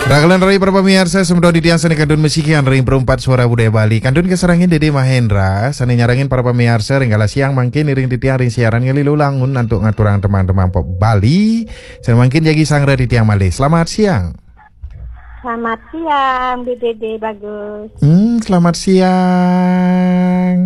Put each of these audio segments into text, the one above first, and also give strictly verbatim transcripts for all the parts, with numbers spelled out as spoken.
Rahajeng rauh para pamiarsa, semeton titiang sané kantun masikian ring Perumpat Suara Budaya Bali. Kantun kasarengin Dédé Mahendra, sané nyarengin para pamiarsa ring galah siang mangkin iring titiang ring siaran ngalih langun antuk ngaturang tembang-tembang pop Bali. Sané mangkin jagi sareng titiang malih. Selamat siang. Selamat siang, Bi Dédé Bagus. Hmm, selamat siang.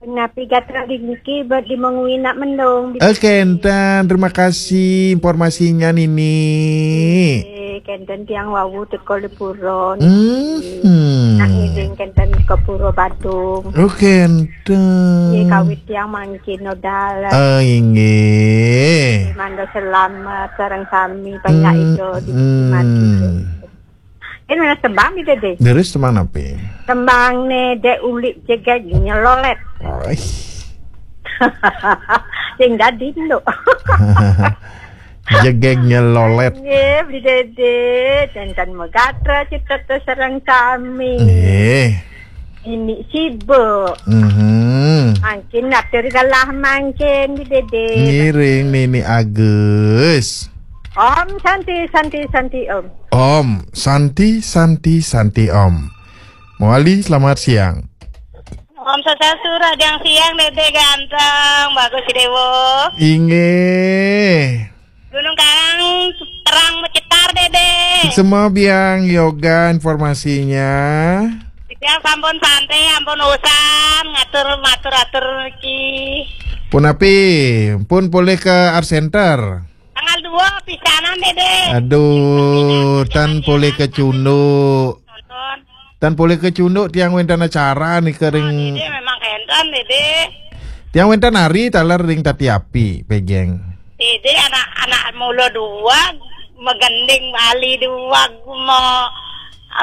Napi gatra di niki, bet di mengwi nak mendung, Bi Dédé. Oke, enten. Terima kasih informasinya, Nini. Eh, kenten tiang wau teka di pura. Hmm. Nak ngiring kenten ke Pura Badung. Oke, enten. Ye kawit tiang mangkin nodal. Oh, inggih. Mangda selamat sareng sami panjak Hmm, ida di hmm. Ini mana tembang, Bi Dédé? Terus tembang napi? Tembang né Dék Ulik Jegeg Nyelolét. Oi. Sing dadi nduk. Jegeg Nyelolét. Nggih, Bi Dédé. Janten magatra cetha sareng sami. Nggih. Ini sibuk. Mhm. Mangkin atur galah mangkin, Bi Dédé. Ngiring Nini Agus. Om Santi, Santi, Santi, Om. Om Santi, Santi, Santi, Om. Mawali, selamat siang. Om Swastiastu, rahajeng siang, Dédé ganteng, Bagus Déwa. Inggih. Gunung Karang terang mencetar, Dédé. Semua biang yoga informasinya. Tiang sampun santai, ampun usan ngatur matur-atur niki. Punapi, pun polih ke Art Center? Tanggal dua pisanan, Dédé. Aduh, tan polih ke Cunduk. Nonton. Tan polih ke Cunduk, tiang wénten acara nika ring Dédé memang kénten, Dédé. Tiang wénten nari taler ring Tati Api, pegeng. Dédé anak-anak mula duag, magending Bali duag, ma-,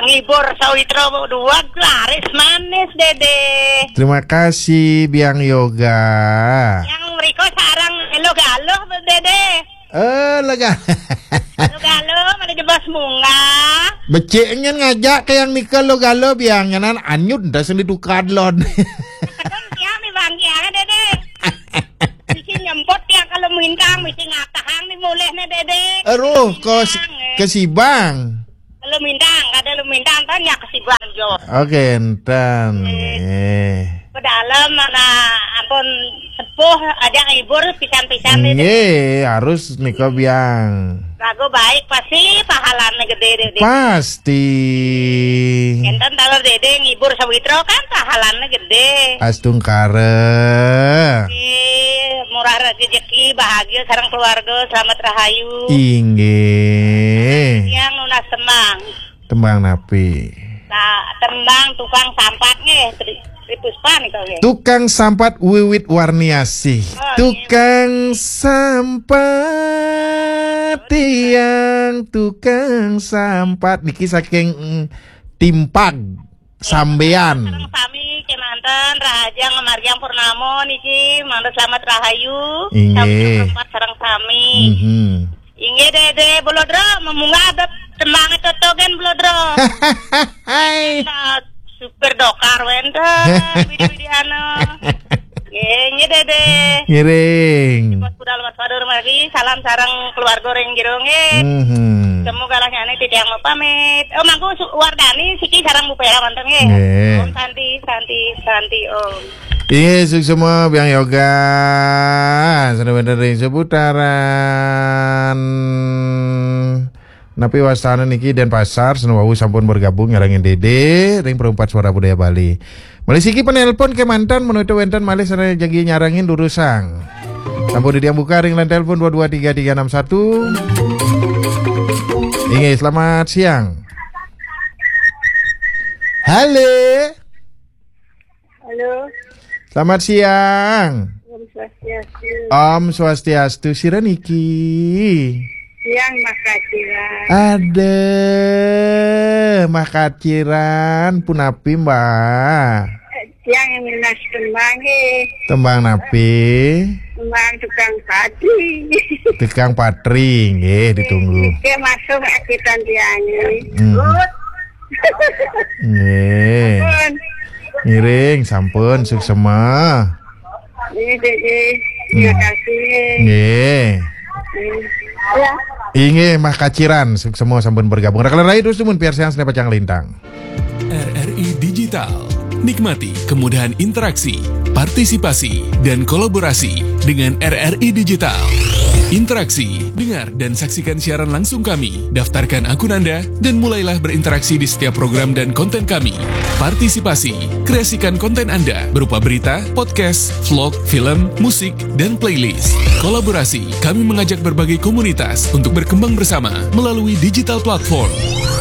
ngibur sawitra duag, laris manis, Dédé. Terima kasih, Biang Yoga. Yang mriko sareng Elo Galuh, Dédé. Eh, lega. Elo Galuh, mana jebos munggah. Becik nyen ngajak ke yang nika Elo Galuh, Biang, nyanan anyun dah sing ditukar lon. Kadang tiang nih, Bang, ya, Dédé. Bisi nyemput tiang kalau mintang, bisi ngatahang nih mulih nih, Dédé. Aduh, kos Bintang, eh. Kesibang. Lu mintang, kada lu mintang, tanya kesibang jo. Oke, enten. Eh. Eh. Pedalem mana ampun sepuh, aja ngibur pisan-pisan, Dédé. Nggih, harus nika, Biang. Lagu baik pasti pahalane gede, Dédé. Pasti. Enten taler, Dédé, ngibur sawitra kan pahalane gede. Astungkara. Nggih, murah rezeki, bahagia sareng keluarga, selamat rahayu. Inggih. Yang nunas tembang. Tembang napi? Nah, tembang Tukang Sampat nggih, Tri, Tri Puspa nika nggih. Tukang Sampat Wiwit Warniasih. Oh, iya. Tukang Sampat, tiang tukang sampat niki saking, mm, Timpag, Sambean. Sareng sami kemanten, rahajeng ngamargiang purnama niki, mangda selamat rahayu. Inggih. Sami Sampat sareng sami. Mhm. Inggih, Dédé, Bulodro, memunggah ada tembang itu togen, Bulodro. Hai. Nah, supir dokar wénten, bidi-bidi anu. Nggih, nggih, Dédé. Ngiring. Bos budal Mas Fadur mari, salam sareng keluarga ring jero nggih. Mhm. Temu galahnya ane titiang mau pamit. Oh, mangku Su-, Wardani siki sareng Bu Pera wonten nggih. Nggih. Om Santi, Santi, Santi, Om. Inggih, suksma Biang Yoga. Sané wénten ring seputaran napi wastane niki, Denpasar, sané wau sampun bergabung nyarengin Dédé ring Perumpat Suara Budaya Bali. Malih siki penelpon kemanten, menawi wénten malih sané jagi nyarengin durusang. Sampun titiang buka ring line telepon dua dua tiga tiga enam satu. Inggih, selamat siang. Halo. Halo. Selamat siang. Om Swastiastu. Om Swastiastu. Sira niki? Tiang Makaciran. Ada Makaciran, punapi, Mbak? Eh, tiang yang nunas tembang, eh. Tembang napi? Tembang tukang patri. Tukang patri, nggih, ditunggu. Oke, masuk akitan tiang, eh. Hmm. Good. Nggih. Pun. Ngiring, sampun, suksma. Nggih, nggih, nggih. Terima kasih. Nggih. Nggih. Ya. Inggih, makaciran, semua sampun bergabung. Rekan-rekan terus tumun piarsayang Sene Pacang Lintang. R R I Digital. Nikmati kemudahan interaksi, partisipasi, dan kolaborasi dengan R R I Digital. Interaksi, dengar dan saksikan siaran langsung kami. Daftarkan akun Anda dan mulailah berinteraksi di setiap program dan konten kami. Partisipasi, kreasikan konten Anda berupa berita, podcast, vlog, film, musik, dan playlist. Kolaborasi, kami mengajak berbagai komunitas untuk berkembang bersama melalui digital platform.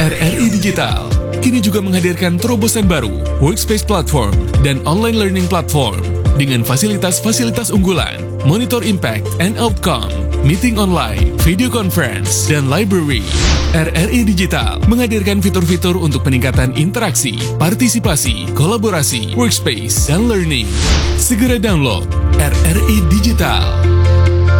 R R I Digital kini juga menghadirkan terobosan baru, Workspace Platform dan Online Learning Platform dengan fasilitas-fasilitas unggulan, monitor impact and outcome, meeting online, video conference, dan library. R R I Digital menghadirkan fitur-fitur untuk peningkatan interaksi, partisipasi, kolaborasi, workspace, dan learning. Segera download R R I Digital.